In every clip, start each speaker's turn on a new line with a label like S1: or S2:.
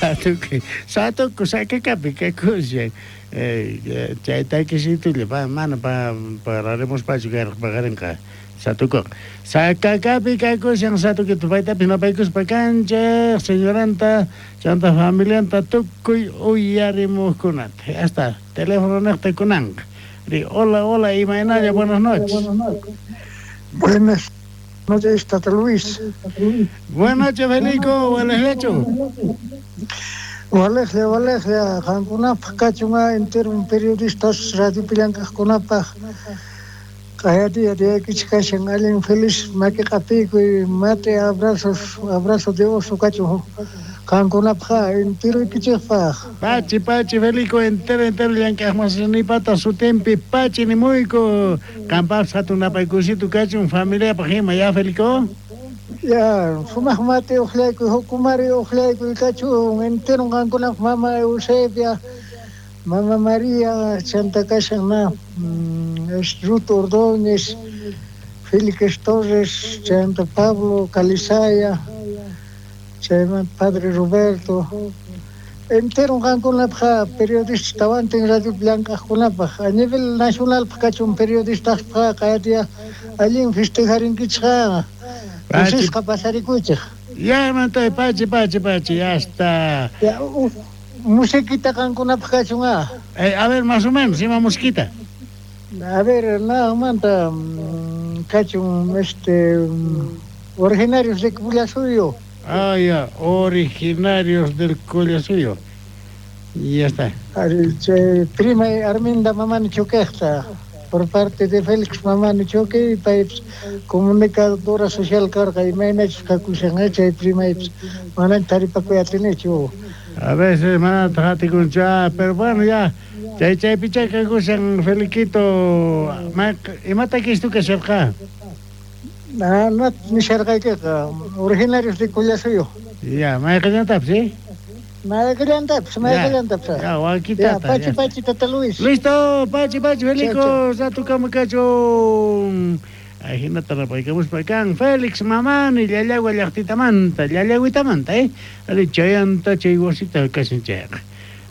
S1: Satukuy, satuku sakakapi kakushan. Chay takisitulla mana pararimuspachu karqa paqarinqa satukuqa. Sakakapi kakushan satukita paytapis napaykuspa kanchej señoranta chanta familianta tukuy uyarimujkunata. Hasta teléfono nejta kunanqa. Ri, hola, hola, imaynalla, buenas noches.
S2: Buenas noches, Tata Luis.
S1: Buenas noches, Felico, walejllachu.
S2: Walejlla, walejlla, qankunapaj kachun entero periodistas radiopi llank'ajkunapaj q'aya diyaykichik kashan allin feliz maki q'apiykuy mate abrazos, abrazo de oso kachun qankunapaj enteroykichikpaj.
S1: Pachi, pachi, Felico, entero, entero llank'ajmasinipata sutinpi pachi nimuyku. Qanpaqpis hatun napaykusitu kachun familiapaj ima, ya Felico?
S2: Ya, sumaq mate uqllaykuy, hukumari uqllaykuy kachun entero qankunapaj mama Eusebia, mama María, chanta kashan na, es Ruth Ordóñez, Félix Torres, chanta Pablo Calizaya, chaymanta Padre Roberto, entero qankunapaj periodistas tawantin radiopi llank'ajkunapaj a nivel nacionalpaj kachun periodistaspaj q'aya allin festejarinkichik
S1: Pachi.
S2: kusisqa pasarikuychik.
S1: Ya, mantay, pachi, pachi, pachi, ya está.
S2: Ya, musiquita qankunapaj kachun ah.
S1: A ver, más o menos, ima musiquita.
S2: A ver, nada kachun originarios de Collasuyo.
S1: Ah, ya, originarios del Collasuyo. Y ya está.
S2: Prima Arminda Mamani Choquejta, por parte de Félix Mamani Choque, y paypis comunicadora social karqa, imaynachus kakushan, chay primaypis mana taripakuy atinichu.
S1: A veces mana tatikunchu, pero bueno, ya, chay chaypicha kakushan, Feliquito, imata kistu kasharqa?
S2: No, no nisharqaykiqa, originarios de Collasuyo.
S1: Ya, mayqillantapis, ¿sí?
S2: Mayqillantapis, mayqillantapis.
S1: Ya, wakitata,
S2: Ya, pachi,
S1: ya.
S2: pachi, Tata Luis.
S1: Listo, pachi, pachi, Felico,
S2: Chao, chao.
S1: ratukama kachun. Ajinata rapaykamuspa kan Félix Mamani, llallagua llaqtitamanta, llallaguitamanta, Ari, chayanta, chay wasita kashan chayqa.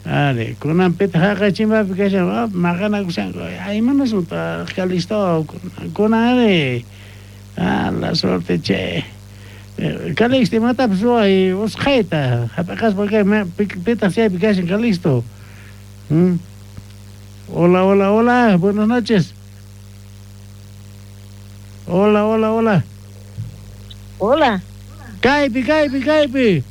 S1: Ari, kunanpitaq haqay chimbapi kashan, maqanakushanku. Ay, imanasunta, Calixto, kunan, ari. Ah, la suerte, che. Calixto, imatapis ruway usqhayta, hap'iqaspa kay, pitaq chaypi kashan, Calixto. Hola, hola, hola, buenas noches. Hola, hola, hola.
S3: Hola.
S1: Kaypi, kaypi, kaypi.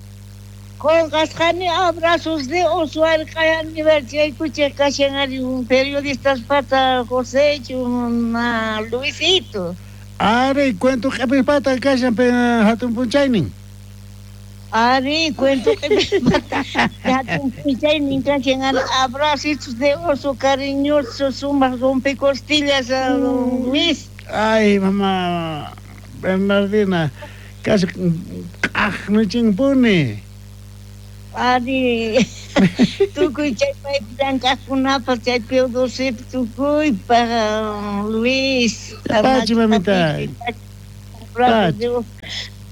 S3: Qonqasqani abrazos de oso arqay aniversariykuchej kashan ari un periodistas pata José una Luisito.
S1: Ari, cuento q'epispata kashan hatun punchaynin.
S3: Ari, cuento q'epispata hatun punchaynin kashan ari abrazitos de oso cariñoso sumaq rompecostillas, Luis.
S1: Ay, mamá Bernardina, casi q'aqnuchinpuni.
S3: Ari, tukuy chay paypi llank'ajkunapaj, chay Pío Docepi tukuypaj, Luis.
S1: Pachi, mamita.
S3: Pachi.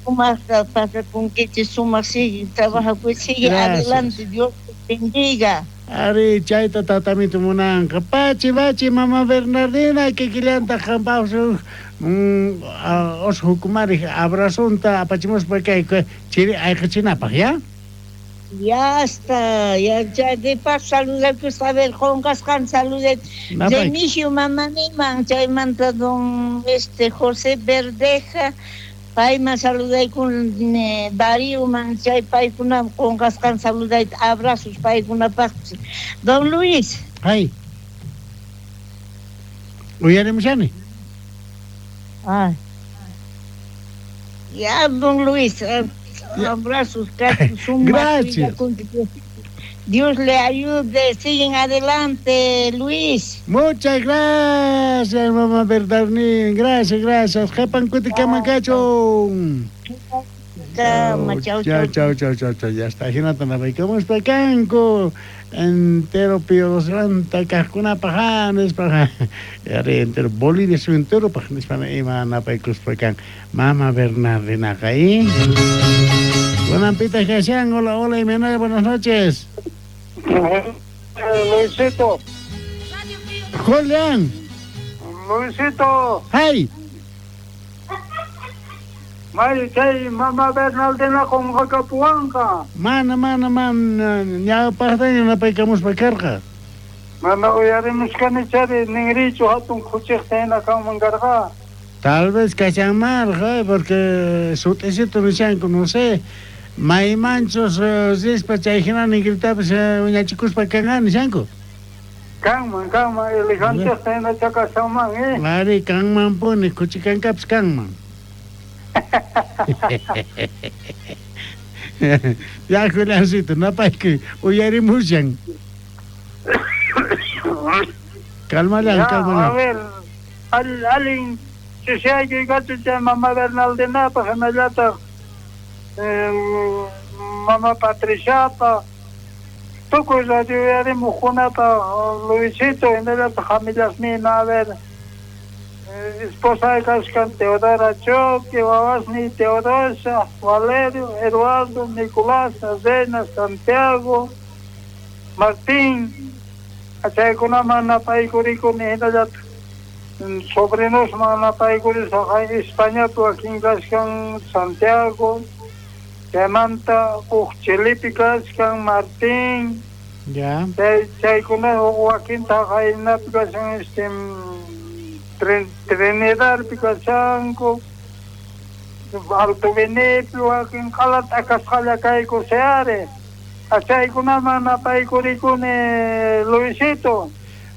S3: Sumaqta pasakunkichis, sumaq sigue, trabajakuy, sigue
S1: Gracias.
S3: adelante, Dios te bendiga.
S1: Ari, chayta tatamito munanqa. Pachi, pachi, mamá Bernardina, kikillantaq qampaq oso hukumarij abrazonta apachimuspa kay chiri ayqichinapaj, ya?
S3: Ya está, ya, ya de paso saludarkus, a ver, qonqasqan saludar.
S1: Napay.
S3: Remigio Mamaniman, chaymanta don José Verdeja, payman saludaykun, Darío man, chay paykuna qonqasqan saludayta, abrazos paykunapaqpis. Don Luis.
S1: Ay. Uyarimushani.
S3: Ay. Ya, don Luis, abrazos, casi sumas,
S1: Gracias.
S3: Dios le ayude, siguen adelante, Luis.
S1: Muchas gracias, mamá Bernardín. Gracias, gracias. Jepan cuticamacacho.
S3: Chao, chao,
S1: Chao, chao, chao, chao, chao. Ya está. Jinata napaykamos kanku. Entero Pío Doce kajkunapaj, nispa. Ari, entero Bolivia su entero paj, nispa, ima napaykuspa kan. Mama Bernardinaqa, ¿eh? Kunanpita kashan, hola, hola, imaynalla, buenas noches.
S4: Luisito.
S1: Julián.
S4: Luisito.
S1: Hey.
S4: May chay mama Bernaldina qunqakapuwanqa.
S1: Mana, mana, mana, ñawpaqtaña napaykamuspa karqa.
S4: Mana uyarimushkani chari ninrichu hatun khuchiqta hina kanman karqa.
S1: Tal vez kashanmarqa, porque sut'isito nishanku, no sé, maymanchus rispa chay hina ningritapas wiñachikuspa kanqa nishanku.
S4: Kanman, kanman, elefanteqta hina chakashanman, eh.
S1: Ari, kanmanpuni, khuchikankapis kanman. Ya, Juliancito, napaykuy, uyarimushan. Calmalan,
S4: Ya,
S1: calmalan.
S4: a ver, allin ch'isiyaykuy kachun chay mama Bernaldinapaq hinallataq mama Patriciapaq tukuy radio uyarimuqkunapaq Luisito hinallataq familiasnina, a ver, esposa kashkan Teodora Choque, wawasniy Teodosa, Valerio, Eduardo, Nicolás, Reina, Santiago, Martín, chaykunaman napaykurikuni hinallataq sobrinosman napaykurisaq Españapi wakin kashkan Santiago, chaymanta huk Chilipi kashkan Martín,
S1: Ya.
S4: chaykuna wakinta haynapi kashan Trinidadpi kashanku, Alto Benipi wakin q'ala t'akasqalla kayku seare. Chaykunaman napaykurikuni Luisito.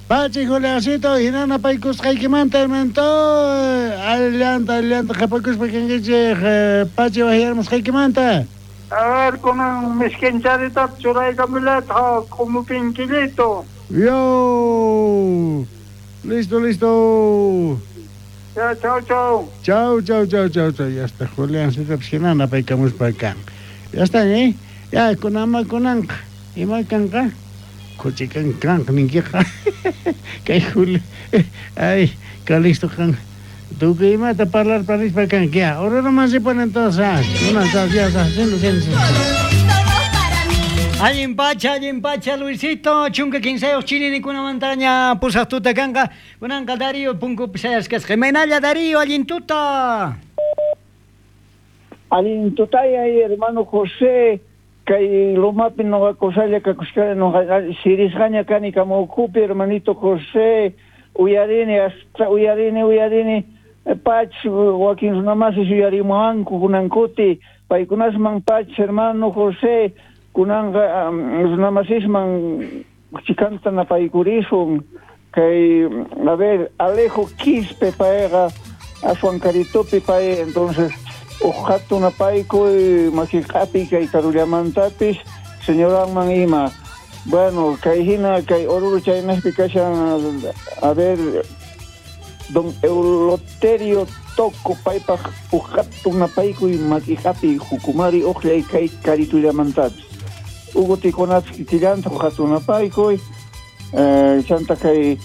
S1: Pachi Juliancito, hina napaykusqaykimanta hermanito, allanta, allanta qhapakuspa kankichik, Pachi wajyarmusqaykimanta.
S4: A ver, kunan miskincharita churaykamullataq q'umupinkillito.
S1: Yo. Listo, listo.
S4: Ya, chau, chau.
S1: Chau, chau, chau, chau, chau. Ya está, Juliancito, pues hina napaykamuspa kan. Ya está, ¿eh? Ya, kunama kunanqa. Ima kanqa? Khuchikan kanqa ninkiqa. Kay Juli. Ay, Calixto kan. Tukuy imata parlar parispa kanki. Ya, ahora nomás se ponen todos. Ah, una, dos, ya, ya, siendo, siendo, siendo.
S5: Allin pacha, Luisito, chunka kinsayuq chininikunamanta pusaq tuta kanqa. Kunanqa Darío punkupi sayasqasqa. Imaynalla Darío, allin tuta.
S6: Allin tutaya, hermano José, kay lomapi noqa kusalla kakushkani noqa sirisqaña kani kamawkupi, hermanito José, uyarini, hasta uyarini, uyarini, pach wakin runamasis uyarimuwanku kunankuti, paykunasman pach, hermano José, kunanqa runamasisman chikanta napaykurisun, kay, a ver, Alejo Quispe payqa aswan karitupi pay, entonces uj hatun napaykuy makiq'api kay karullamantapis señoranman ima. Bueno, kay hina kay Oruro chaynaqpi kashan, a ver, don Euloterio Toco paypaq uj hatun napaykuy makiq'api jukumari uqllay kay karitullamantapis. Hugo Ticonatz kikillanta uj hatun napaykuy, chanta kay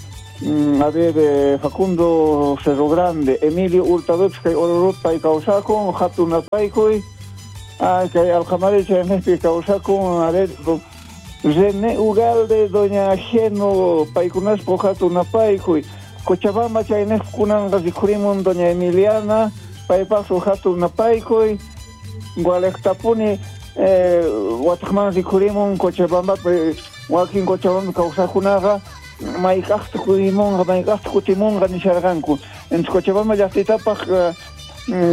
S6: a ver, Facundo Cerro Grande, Emilio Hurtado, kay Oruro pay kawsakun, hatun napaykuy, kay Alcamari chaynaqpi kawsakun, a ver, René Ugalde, doña Geno, paykunaspa hatun napaykuy, Cochabamba chaynaq kunanqa rikhurimun doña Emiliana, paypaq hatun napaykuy, Gualejtapuni, wataqman rikhurimun Cochabamba, wakin Cochabamba kawsaqkunaqa mayk'aqta kutimunqa, mayk'aqta kutimunqa nisharqanku. Entonces Cochabamba llaqtitapaq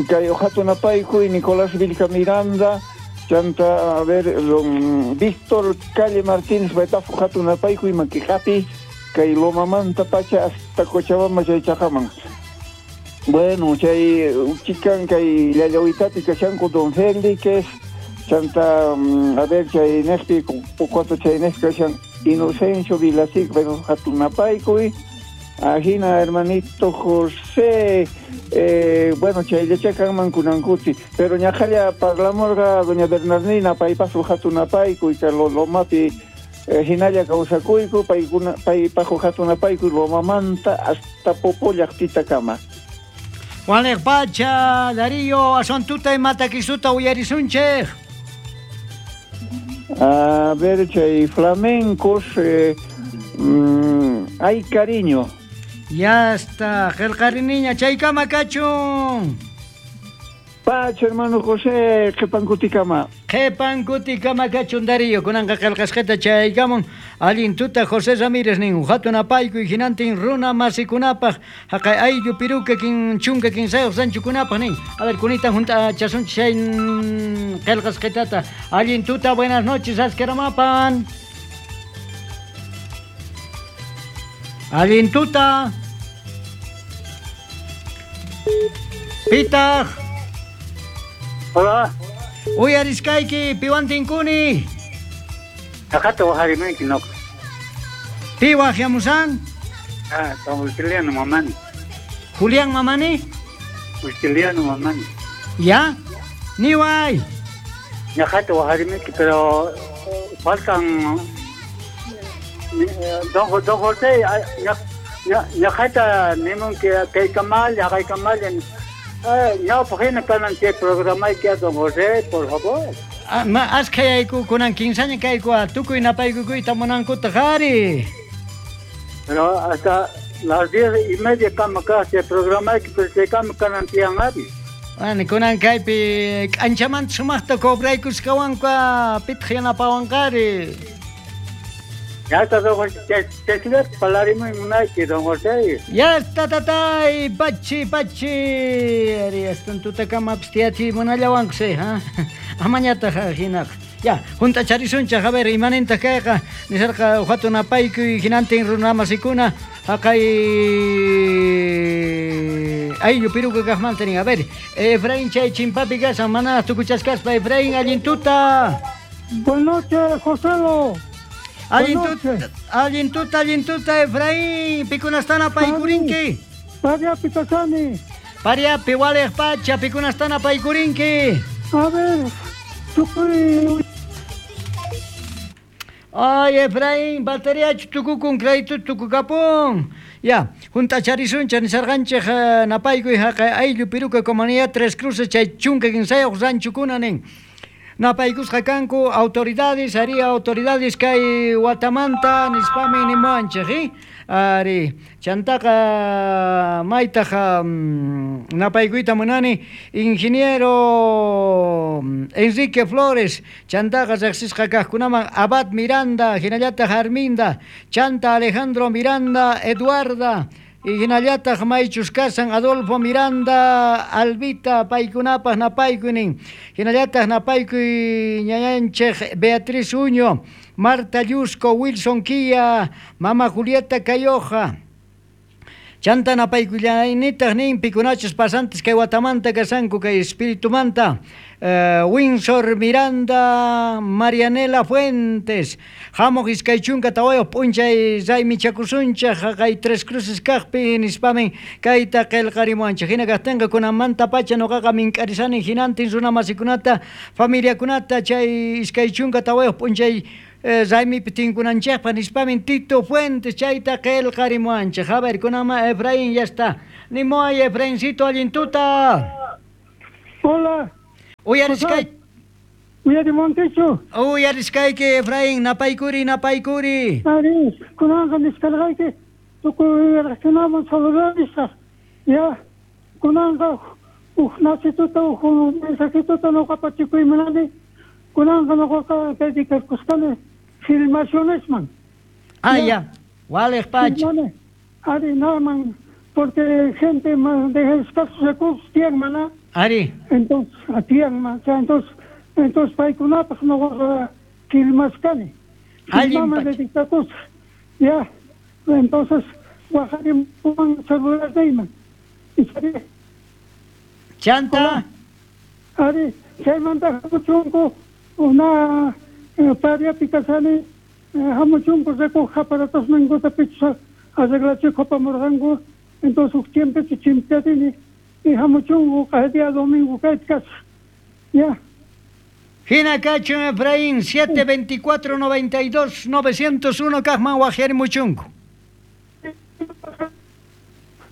S6: kay hatun napaykuy Nicolás Vilca Miranda, chanta, a ver, don Víctor Calle Martínez paypaq hatun napaykuy makiq'api kay Lomamanta pacha hasta Cochabamba chay chaqaman. Bueno, chay chikan kay Llallawitapi kashanku don Félix, chanta, a ver, chay naqpi cuatro chay naqpi kashan Inocencio Vilasic, pero hatun napaykuy. Ajina, hermanito José, bueno, chayllacha kanman kunankuti, pero ñaqalla parlamurqa doña Bernardina paypaq hatun napaykuy, kay Lomapi hinalla kawsakuyku, paykuna paypaq hatun napaykuy Lomamanta hasta Popo llaqtitakama.
S5: Waliq pacha, Darío, aswan tuta imata kisuta uyarisunchik.
S6: A ver, chay flamencos, ay cariño.
S5: Ya está, qillqariniña chaykama kachun.
S6: Pacha, hermano José, qhipankutikama.
S5: Qhipankutikama kachun Darío, kunanqa qillqasqata chayaykamun allin tuta José Ramírez nin hatun apaykuy hinantin runa masikunapaq haqay ayllu piruka kin chunka kinsayuq ranchukunapaq nin. A ver, kunitan hunt'achasunchik chay qillqasqitata. Allin tuta, buenas noches, askaramapan. Allin tuta. Pitaq.
S4: Hola.
S5: Uyariskayki, piwan tinkuni.
S4: Akata wajarimanki noqa.
S5: Pi wajyamusan?
S4: Ah, Juliano Mamani.
S5: Julián Mamani?
S4: Juliano Mamani.
S5: ¿Ya? Niway.
S4: Ñaqata wajarimanki, pero faltan don José, ñaqata nimunki kaykamal, haqaykamal. Ñawpaq hina kanan chay programayki don José, por favor.
S5: Ashkhayayku kunan kinsaña kayku tukuy napaykukuyta munankutaq ari.
S4: Pero hasta las 10:30 kama kaq chay programayki, pero chaykama kanan tiyan ari.
S5: Bueno, kunan kaypi k'anchamanta sumaqta cobraykusqawanku pitaq yanapawanqari.
S4: Ya está, don José, te palarimuy munayki, don José.
S5: Ya está, tatay, pachi, pachi. Ari, hasta tutakama tiyachi munallawanku, sí, ha? Amañataq hinaqa. Ya, hunt'acharisunchik, a ver, imanintaq kayqa, nisarqa hatun apaykuy hinantin runamasikuna, haqay ayllu piruka kaqmanta nin. A ver, Efraín chay chimpapi kasan, mana tukuchasqaspa, Efraín, allin tuta.
S2: Buenas noches, Joselo.
S5: Allin tuta, Efraín, pikunastana paykurinki.
S2: Pariapi kasani.
S5: Pariapi waliq pacha, pikunastana paykurinki.
S2: A ver, tukuy.
S5: Ay, Efraín, bateriachu tukukun, crédito tukukapun. Ya, hunt'acharisunchik nisarqanchik napaykuy haqay ayllu piruka comunidad Tres Cruces chay chunka kinsayuq ranchukuna nin. Napaykusqa kanku autoridades, ari autoridades kay watamanta nispami nimuwanchik, ari chantaqa maytaq napaykuyta munani ingeniero Enrique Flores, chantaqa riqsisqa kaqkunaman Abad Miranda, hinallataq Arminda, chanta Alejandro Miranda, Eduarda, y hinallataq maychus kasan Adolfo Miranda, Albita, paykunapaq napaykuy hinallataq napaykuy ñañanchik Beatriz Uño, Marta Yusco, Wilson Quilla, Mama Julieta Cayoja. Chanta napaykullaynitaq nin pikunachus pasantes kay watamanta kasanku kay espiritumanta Windsor Miranda, Marianela Fuentes, hamuq iskay chunka tawayuq p'unchay raymichakusunchik haqay Tres Cruces kaqpi nispamin kayta qillqarimuwanchik. Hina kaqtinqa kunanmanta pacha nuqaqa mink'arisani hinantin runa masikunata familiakunata chay iskay chunka tawayuq p'unchay raymipi tinkunanchikpaq nispamin Tito Fuentes chayta qillqarimuwanchik. A ver, kunanma Efraín ya está. Nimuway Efraincito, allin tuta.
S2: Hola. Uyarimunkichu.
S5: Uyariskayki Efraín, napaykuri, napaykuri.
S2: Ari, kunanqa nisqarqayki tukuy uyaraqkunaman saludarisaq. Ya, kunanqa huk nasituta, huk mensajituta nuqa pachikuy munani. Kunanqa nuqaqa dedicarkusqani filmacionesman.
S5: Ah, ya. Waliq pacha.
S2: Ari, naman, porque gente de escasos recursos tienen, maná.
S5: Ari.
S2: Entonces, atiyan, entonces paykunapaq nuqaqa filmasqani. Filmaman dedicakusaq. Ya, entonces waqarimuwan celularniyman.
S5: Chanta.
S2: Ari, chaymanta hamuchunku una pariapi kasani hamuchunku recoge aparatosninkuta pichus arreglachik apamurqanku. Entonces huk tiempopi chimpiatini y hamuchunku kay día domingo kayta kasaq. Ya.
S5: Hina kachun Efraín, 724 92 901 kaqman waqyarimuchunku.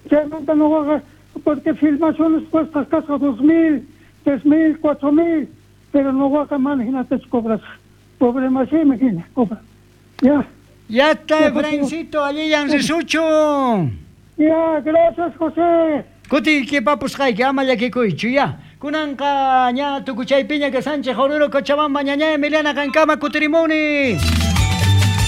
S2: Chaymanta nuqaqa porque filmaciones cuestan kasqa 2000, 3000, 4000, pero nuqaqa mana hinatachu cobrasaq.
S7: Pobre masiymi hina. Ya.
S5: Ya está, Efraíncito, allillan risuchun.
S7: Ya, gracias, José.
S5: Kutiykipapusqayki ama llakikuychu ya. Kunanqa ña tukuchaypiña kashanchej Oruro, Cochabamba, ñañay Emiliana qankama kutirimuni.